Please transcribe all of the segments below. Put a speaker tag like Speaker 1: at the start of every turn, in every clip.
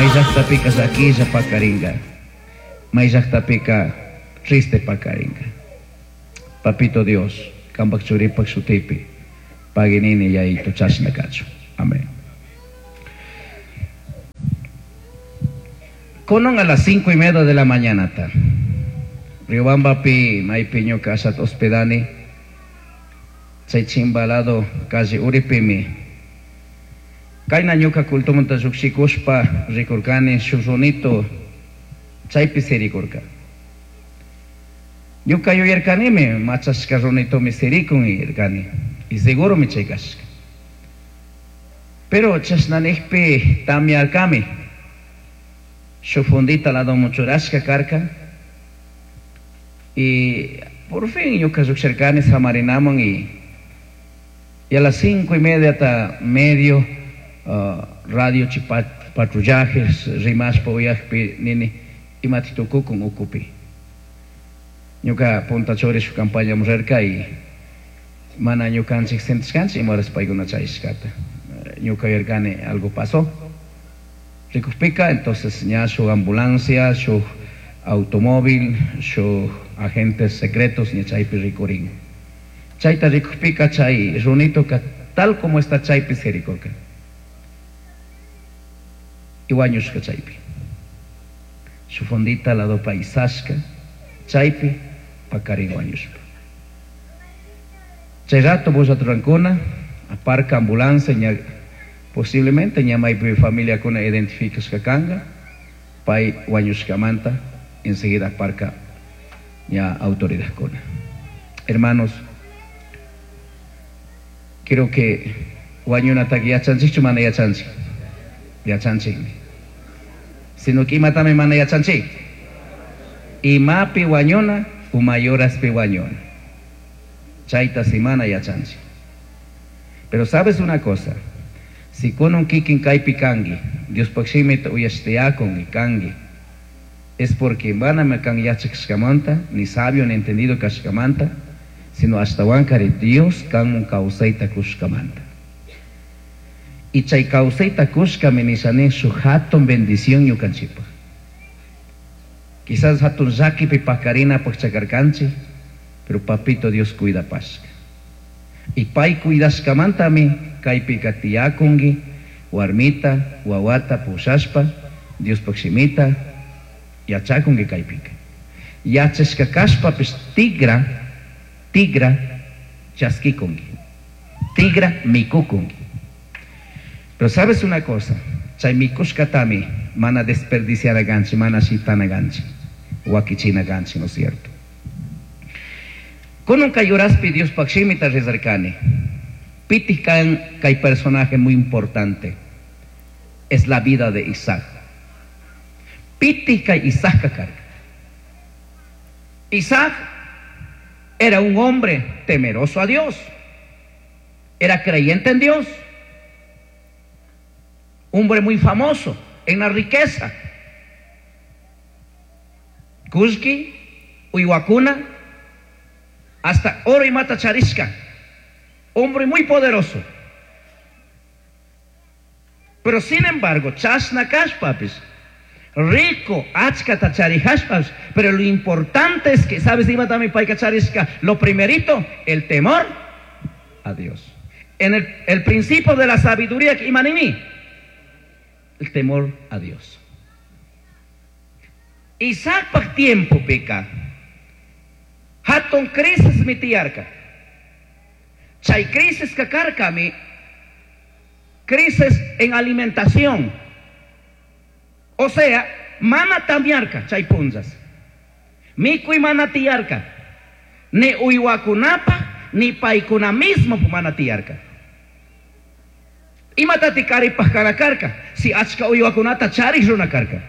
Speaker 1: May llajtapika llaquilla pakaringa. May llajtapika triste pakaringa. Papito Dios, cambaj churipaj shutipi, pagui nini Yayitu chashna cachun. Amén. Cunan a las 5:30 de la mañanata, Riobambapi maipi ñuca ashata hospedani, chay chimba lado calle uripimi, caina ñuca cultumanta llujshicushpa ricurcani shuj runito chaipi siricurca. Ñuca yuyarcanimi machashca runitomi siricun yuyarcani, y seguromi chay cashca. Pero chashna nijpi tamyarcami, shuj fundita ladoman churashca carca, y por fin ñuca llujshircani samarinaman y, y a las 5:30 ta medio radio chi patrullajes rimashpa uyajpi nini imati tucucun ucupi. Ñuca punta churi shuj campañaman rirca y mana ñucanchij sentishcanchij ima horas paicuna chayashcata. Ñuca yuyarcani algo pasó. Ricujpica entonces ña shuj ambulancia, shuj automóvil, shuj agentes secretos ña chaipi ricurin. Chaita ricujpica chay runitoca tal como está chaipi siricurca. Y huañushca chaipi. Shuj fundita ladopa isashca chaipi pacarin huañushpa. Chay rato bulla rurancuna, aparca ambulancia, ña posiblemente ña maypi familiakuna identificashka canga, pay huañushkamanta enseguida aparca ña autoridadkuna. Hermanos, creo que huañunataka yachanchikchu mana yachanchik? Yachanchikmi. Sino que imatami mana yachanchik? Imapi huañuna o mayoraspi huañuna. Chayta si mana yachanchik. Pero sabes una cosa, si kunan kikin kaypi kanki, Diospaj shimita uyashtiyakun kanki, es porque manami kan yachashkamanta, ni sabio ni entendido kashkamanta, sino ashtawankari Dios kanmun kawsayta kushkamanta. Y chay kawsayta kushkami nisha nin shuj hatun bendición ñukanchikpaj. Quizás hatun llakipi pakarinapaj chakarkanchik, pero papito Dios cuidapashka. Y pay cuidashkamantami kaypika tiyakunki, warmita, wawata pushashpa, Diospaj shimita yachakunki kaypika. Yachashka kashpapish tigra, tigra chaskikunki. Tigra mikukunki. Pero sabes una cosa, chay mikushkatami mana desperdiciar ganchi, mana shitana ganchi, wakichina ganchi, ¿no es cierto? Kunan kay horaspi Diospaj shimita rezarkani. Piti kan kay personaje muy importante. Es la vida de Isaac. Piti kay Isaac kakarka. Isaac era un hombre temeroso a Dios. Era creyente en Dios. Hombre muy famoso en la riqueza. Kushki, uywakuna, hasta oro imata charishka. Hombre muy poderoso. Pero sin embargo, chashna kashpapis, rico, achkata charihashpapish, pero lo importante es que, ¿sabes? Ima también payka charishka, lo primerito, el temor a Dios. En el principio de la sabiduría, imanimi, el temor a Dios. Isaac pa tiempo peca. Hatun crisis mi tiyarka. Chay crisis kakarkami, crisis en alimentación. O sea, mana tamiarka chay punzas. Mikuy mana tiyarka. Ni uywakunapa, ni paykuna mismo mana tiyarka. Imatati karipaj karakarka, si achka uywakunata charij runa karka.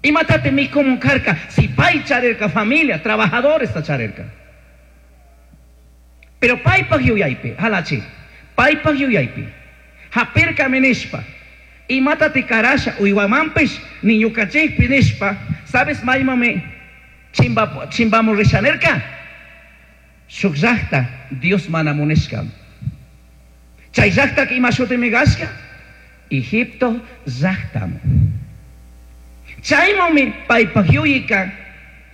Speaker 1: Imatati mikumun karka, si pay charirka familia, trabajadores ta charirka. Pero paypaj yuyaypi, halachi, paypaj yuyaypi, hapirka nishpa, imatati karasha uywamanpish, ni ñukanchikpi nishpa, sabes maymami chimbamu rishanerka? Shuk llakta Dios mana munishka. Chay llaktaka ima shutimi kashka? Egipto llajtamu. Chaymanmi paypaj yuyayka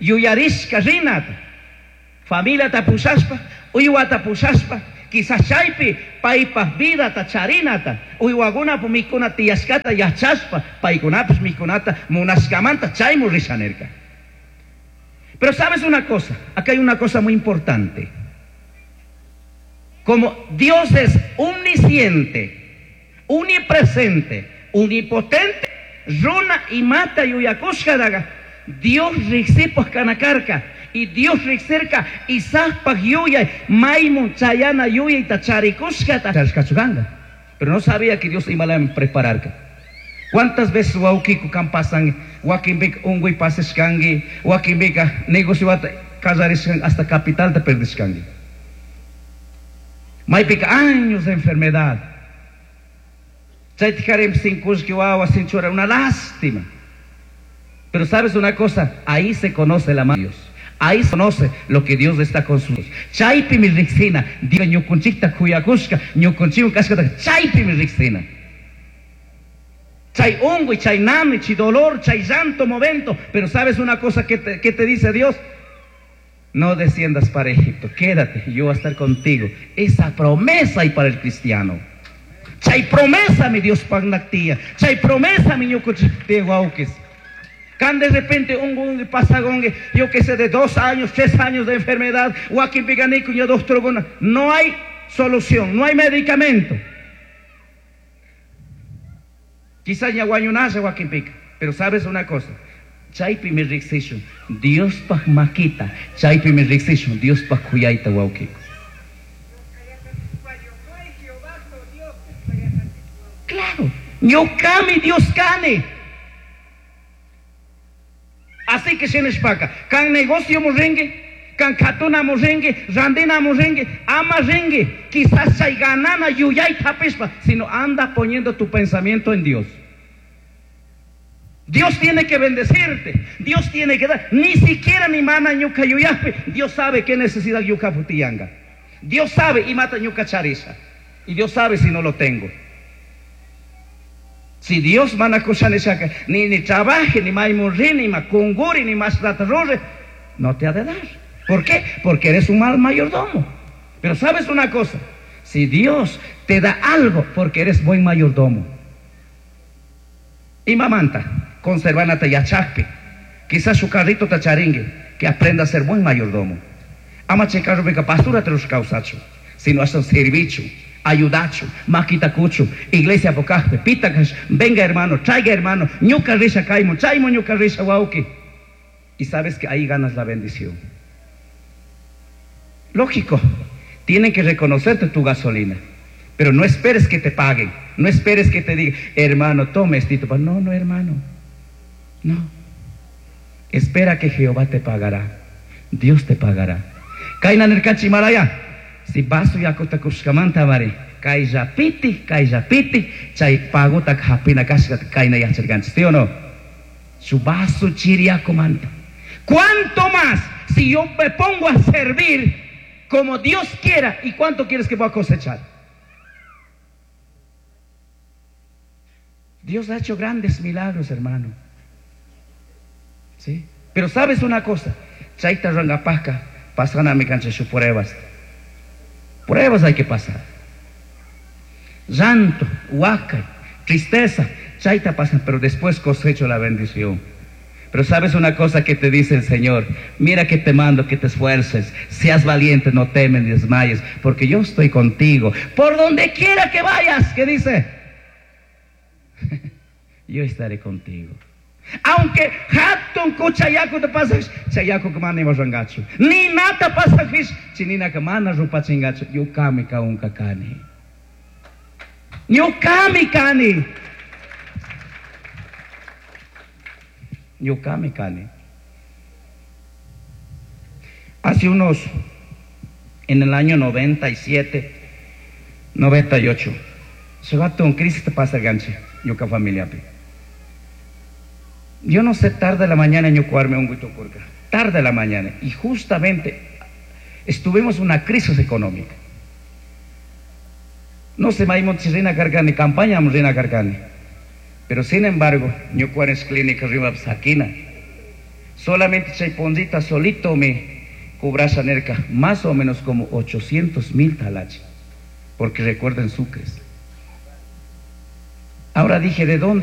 Speaker 1: yuyarishka rinata. Familiata pushashpa, uywata pushashpa, quizás chaypi paypaj vidata charinata, uywakunapu mikuna tiyashkata yachashpa, paykunapish mikunata munashkamanta chaymu risha nirka. Pero sabes una cosa, acá hay una cosa muy importante. Como Dios es omnisciente, omnipresente, omnipotente, runa imata yuyakushkadaga, Dios riksipaj kanakarka, y Dios riksirka Isaacpaj yuyay maymun chayana yuyayta charikushkata charishkachuganga. Pero no sabía que Dios imalaman prepararka. ¿Cuántas veces wawkiku kan pasan, wakinpika unguy pasashkanki, wakinpika negociota kallarishkanki, hasta capitalta perdishkanki? Maypika años de enfermedad. Chaytikarim sin kullki wawa, sin chura, una lástima. Pero sabes una cosa, ahí se conoce la mano de Dios. Ahí se conoce lo que Dios está con sus. Chaypi mi riksina, Dios ñukunchikta kuyakushka, ñukunchikwan kashkata, chaypi mi riksina. Chay unguy, chay nami, chay dolor, chay llanto momento. Pero sabes una cosa que te dice Dios, no desciendas para Egipto, quédate, yo voy a estar contigo. Esa promesa hay para el cristiano. Chay promesa mi Dios pagnactía, chay promesa mi ñukunchik wawkis. Can de repente un pasagongue, yo que sé, de 2 años, 3 años de enfermedad, wakinpiganiku, yo doctor, bueno, no hay solución, no hay medicamento. Quizás ya guayunasa wakinpika, pero sabes una cosa, chaypi mi riksishun, Dios paj makita, chaypi mi riksishun, Dios paj kuyayta wawkiku. Claro, ñuqami Dios kani. Así que shinishpaka, kan negocio muringi, kan katuna muringi, randina muringi, ama ringi, quizás chay ganana yuyay tapishpa, sino anda poniendo tu pensamiento en Dios. Dios tiene que bendecirte, Dios tiene que dar, ni siquiera ni mana ñuka yuyajpi, Dios sabe qué necesidad yuka putiyanga. Dios sabe y mata ñuka charisa, y Dios sabe si no lo tengo. Si Dios mana kushanishaka, ni trabaje, ni maimurri, ni makunguri, ni más plata rurre, no te ha de dar. ¿Por qué? Porque eres un mal mayordomo. Pero sabes una cosa, si Dios te da algo, porque eres buen mayordomo. Y mamanta, conservanata yachakpi, quizás su carrito tacharingue, que aprenda a ser buen mayordomo. Ama checarro beca pastura te los causacho, sino hasta un servicio. Ayudacho, maquita cucho, iglesia pocajpe, pitacash, venga hermano, traiga hermano, ñuca risha caimo, chaimo ñuca risha wauki. Y sabes que ahí ganas la bendición. Lógico, tienen que reconocerte tu gasolina, pero no esperes que te paguen, no esperes que te digan, hermano, tome estito. No, no, hermano, no. Espera que Jehová te pagará, Dios te pagará. Kaina nerkachi maraya. Si vaso yakuta kushkamanta mari, kaylla piti, kaylla piti, chay paguta hapina kashka kayna yacharkanchis, ¿sí o no? Su vaso chiriakumanta. ¿Cuánto más si yo me pongo a servir como Dios quiera? ¿Y cuánto quieres que voy a cosechar? Dios ha hecho grandes milagros, hermano. ¿Sí? Pero sabes una cosa, chayta rangapajka, pasana mi cancha su pruebas. Pruebas hay que pasar. Llanto, huaca, tristeza, chayta pasan, pero después cosecho la bendición. Pero sabes una cosa que te dice el Señor, mira que te mando que te esfuerces, seas valiente, no temes ni desmayes, porque yo estoy contigo. Por donde quiera que vayas, ¿qué dice? Yo estaré contigo. Aunque hatun kuchayaku te pasas, chayaku que mana iba rangachu. Ni nata pasajis, chinina que mana rupa chingachu. Yukami kaunka kani. Yukami kani. Yukami kani. Hace unos, en el año 97, 98, se va a un crisis te pasa ganche, yuka familia pi. Yo no sé, tarde de la mañana en Yucuarme un guito curca, tarde de la mañana, y justamente estuvimos en una crisis económica. No sé, maimon chirina carcani, campaña amrina carcani. Pero sin embargo, ñucahuan clínica rimapis saquina. Solamente chay punllita solito me cobrasha nirca más o menos como 800 mil talachi. Porque recuerden sucres. Ahora dije, ¿de dónde?